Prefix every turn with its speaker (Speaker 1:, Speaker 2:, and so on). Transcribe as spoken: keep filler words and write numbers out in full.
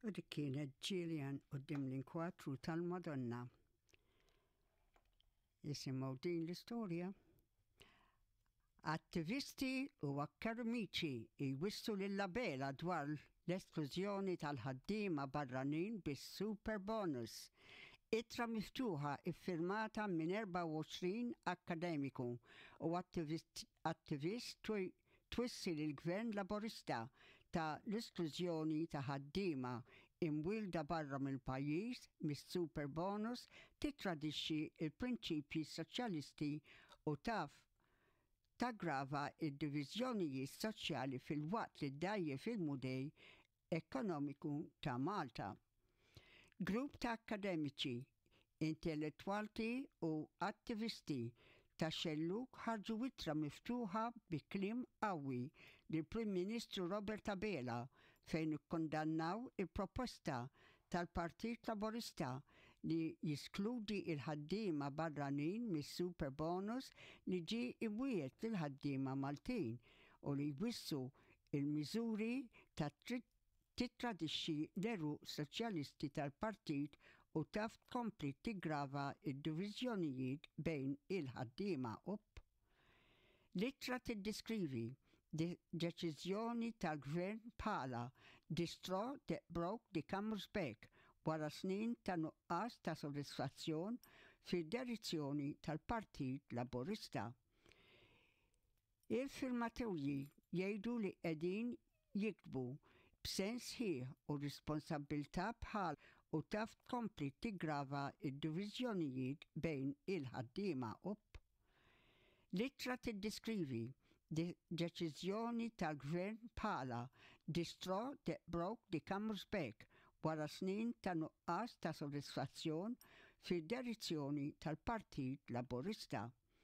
Speaker 1: U dik kienet Gillian quddiem l-inkwatru tal-Madonna. Isimgħu din l-istorja. Attivisti u akkademiċi jwissu lil Abela dwar l-esklużjoni tal-ħaddiema barranin bis-super bonus. Ittra miftuħa iffirmata minn erbgħa u għoxrin akkademiku u attivist, attivist twissi lill-Gvern Laburista ta' l-esklużjoni ta' ħaddiema imwielda barra mill-pajjiż mis-super bonus titradixxi il-prinċipji soċjalisti u taf taggrava id-diviżjonijiet soċjali filwaqt li ddgħajjef il-mudell ekonomiku ta' Malta. Grupp ta' akademiċi, intellettwali u attivisti ta' xelluk ħarġu ittra miftuħa bi kliem qawwi lill-Prim Ministru Robert Abela fejn ikkondannaw il-proposta tal-Partit Laburista li jiskludi il-ħaddiema barranin mis-super bonus li ġie imwiegħed lill-ħaddiema Maltin u li jwissu il-miżuri ta' titradixxi l-għeruq soċjalisti tal-partit u taf tkompli tiggrava id-diviżjonijiet bejn il-ħaddiema up. L-ittra tiddeskrivi deċiżjoni tal-gvern bħala "the straw that broke the camel's back" wara snin ta' nuqqas ta' sodisfazzjon fid-direzzjoni tal-Partit Laburista. Il-firmatorji jgħidu li qegħdin jiktbu b'sens sħiħ u responsabbiltà bħal u taf tkompli tiggrava id-diviżjonijiet bejn il-ħaddiema up. L-ittra tiddeskrivi deċiżjoni tal-gvern bħala "the straw that broke the camel's back" wara snin ta' nuqqas ta' sodisfazzjon fid-direzzjoni tal-Partit Laburista.